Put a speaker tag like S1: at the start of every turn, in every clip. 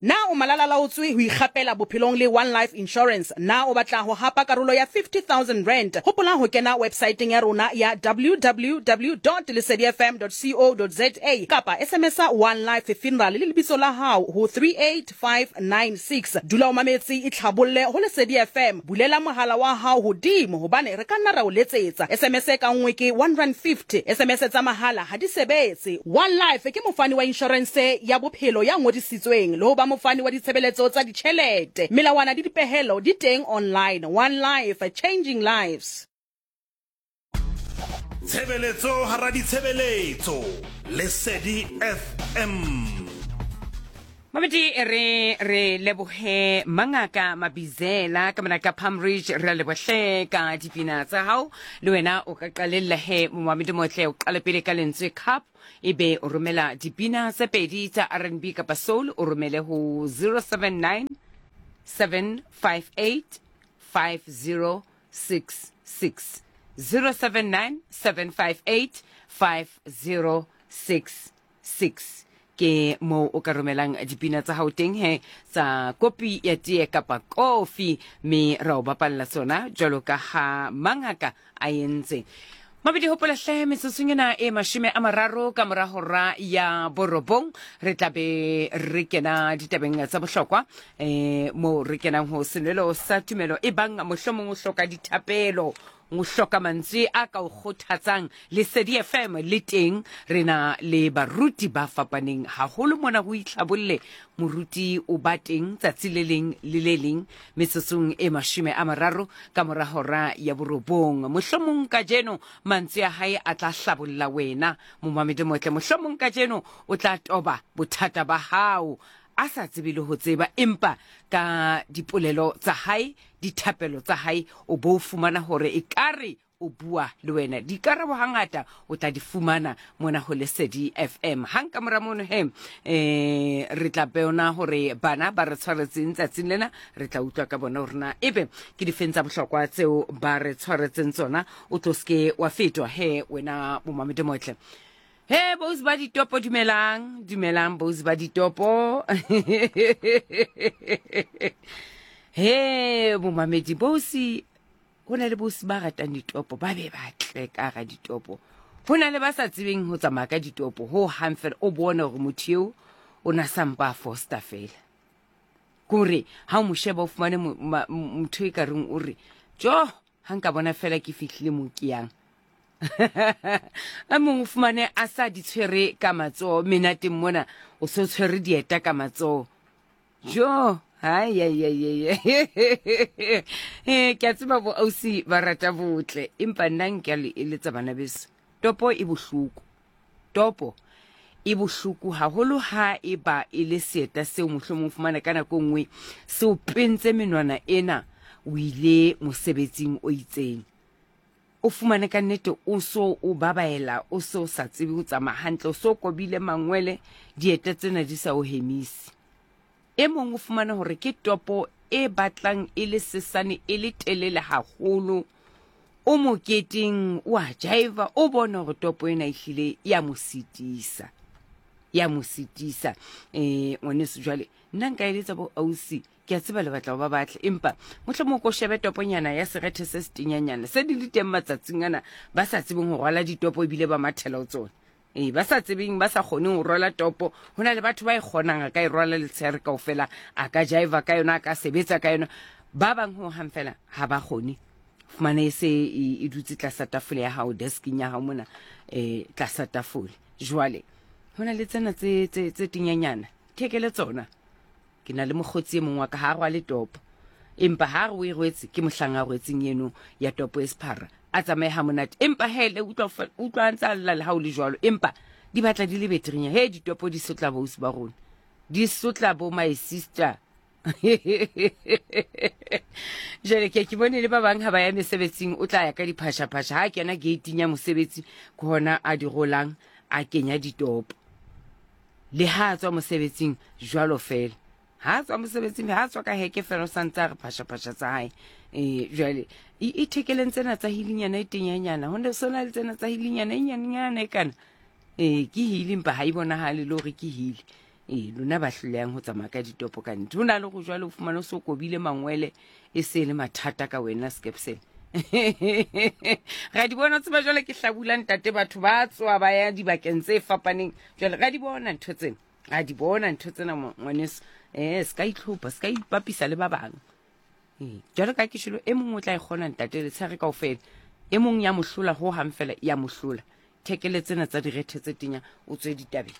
S1: Na o malalalaotswe ho ikgapela bophelong le One Life Insurance? Na o batla ho hapa karolo ya R50,000? Hopola ho kena websaeteng ya rona ya www.lesedifm.co.za kapa SMS-a One Life Funeral le lebitso la hao ho 38596. Dula o mametse, itlhabolle ho Lesedi FM. Bulela mohala wa hao hodimo hobane re ka nna ra o letsetsa. SMS ka nngwe ke R1.50. SMS tsa mahala ha di sebetse. One Life ke mofani wa inshorense ya bophelo ya ngodisitsweng le ho ba mofani wa ditshebeletso tsa ditjhelete. Melawana le dipehelo di teng online. One Life, changing lives.
S2: Tshebeletso hara ditshebeletso. Lesedi FM.
S3: Mamedi re re lebohe mangaka Mabizela ka mona ka Palm Ridge re a lebohle ka dipina tsa hao le wena o ka qalella he momamedi motle o qale pele ka lentswe cup ebe o romela dipina tse pedi tsa R&B kapa soul o romele ho 079 758 5066 079 758 5066 Ke moo o ka romelang dipina tsa hao teng he tsa kopi ya tee kapa kofi, mme ra o bapalla tsona jwalo ka ha mangaka a entse. Mabedi hopola hle metsotsong ena e 30 ka mora hora ya borobong re tla be re kena ditabeng tsa bohlokwa um moo re kenang ho senwelo sa tumelo e bang mohlomong o hloka dithapelo O hloka mantswe a ka o kgothatsang? Lesedi FM le teng. Re na le baruti ba fapaneng haholo mona ho itlhabolle. Moruti o ba teng tsatsi le leng le le leng metsotsong e 30 ka mora hora ya borobong. Mohlomong kajeno mantswe a hae a tla hlabolla wena momamedi motle. Mohlomong kajeno o tla toba bothata ba hao a sa tsebe le ho tseba, empa ka dipolelo tsa hae dithapelo tsa hae o bo o fumana hore ekare o bua le wena. Dikarabo hangata o tla di fumana mona ho Lesedi FM. Hang ka mora mono he re tla bona hore bana ba re tshwaretseng tsatsing lena, re tla utlwa ka bona hore na ebe ke difeng tsa bohlokwa tseo ba re tshwaretseng tsona. O tlo seke wa fetwa he wena momamedi motle. He bousi ba ditopo dumelang, dumelang bousi ba ditopo. He bomamedi bousi ho na le bousi ba ratang ditopo ba be ba tle ka ga ditopo. Ho na le ba sa tsebeng ho tsamaya ka ditopo ho hang fela o bone hore motho eo o na sampa a foster fela. Kore ha o mo sheba o fumane motho e ka reng o re jo ha nka bona fela ke fihlile mo ke yang. A mongwe o fumane a sa di tshwere ka matsoho menateng mona o se o tshwere dieta ka matsoho jo ke a tseba bo ausi ba rata botle empa nna nka le eletsa bana beso topo e bohloko topo e bohloko haholo ha e ba e le seeta seo mohlomong fumana ka nako nngwe se o pentse menwana ena o ile mosebetsing o itseng O fumane ka nnete o so o babaela, o se o sa tsebe ho tsamaya hantle, o so kobile mangwele, dieta tsena di sa o hemise. E mong o fumane hore ke topo e batlang e le sesane e le telele haholo, o moketeng o a jaiva, o bone hore topo ena ehlile ya mo sitisa, ya mo sitisa. Ngwaneso jwale nna nka eletsa bo ausi Ke a tseba le batla go ba batle, empa mohlomong ko shebe toponyana ya serethe se setenyanyana se di le teng matsatsing ana, ba sa tsebeng go rwala ditopo ebile ba mathela go tsona. Ee, ba sa tsebeng, ba sa kgoneng go rwala topo. Go na le batho ba e kgonang, a ka e rwala letshehare kaofela, a ka jaiva ka yona, a ka sebetsa ka yona. Ba bang ho hang fela ha ba kgone. Fumane e se e, e dutse tlasa tafole ya hao, deskeng ya hao mona, tlasa tafole. Jwale, ho na le tsena tse, tse, tse tenyanyana, thekele tsona. Ke na le mokgotsi e mong wa ka, ha a rwale topo. Empa ha a re o e rwetse, ke mohlang a rwetseng eno ya topo e sephara. A tsamaye ha monate. Empa he, le utlwa, utlwa a ntse a lla le ha o le jwalo. Empa di batla di le beterenyana. He, ditopo di sotla boausi ba rona. Di sotla bo my sister. Jwale ke ke bone le ba bang ha ba ya mesebetsing, o tla ya ka diphashaphasha. Ha a kena gating ya mosebetsi, ke hona a di rolang, a kenya ditopo. Le ha a tswa mosebetsing jwalo fela. Ha a tswa mosebetsing, ha a tswa ka heke fela, o sa ntse a re phashaphasha tsa hae. Jwale, e thekeleng tsena tsa hilinyana e tenyanyana. Ho ne so na le tsena tsa hilinyana e nyanenyana e kana. Ke hili, empa ha e bonahale le hore ke hili. Ee, lona ba hlolehang ho tsamaya ka ditopo ka nnete. Ho na le go jwale o fumane o se o kobile mangwele e se e le mathata ka wena Skepsele. Ra di bona tseba jwale ke hlabula ntate batho ba tswa ba ya dibakeng tse fapaneng. Jwale ra di bona ntho tsena. Ra di bona ntho tsena ngwaneso. Eh, se ka itlhopha, se ka ipapisa le ba bang. Ee, jwalo ka ke shelo e mong o tla e kgona ntate letshehare kaofela. E mong ya mo hlola ho hang fela ya mo hlola. Thekele tsena tsa direthe tse tenya o tswe ditabeng.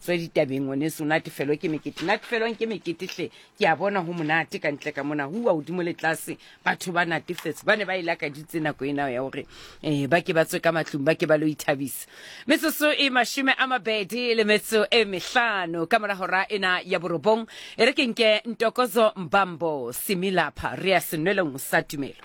S3: Tswe ditabeng ngwaneso o natefelwe ke mekete. Natefelwang ke mekete hle. Ke a bona ho monate ka ntle ka mona. Hua hodimo le tlase batho ba natefetse. Ba ne ba e lakaditse nako ena ya hore eh ba ke ba tswe ka matlung ba ke ba lo ithabisa. Metsotso e 25 le metso e mehlano ka mora hora ena ya borobong. E re ke nke Ntokozo Mbambo Similapha re ya senwelong sa tumelo.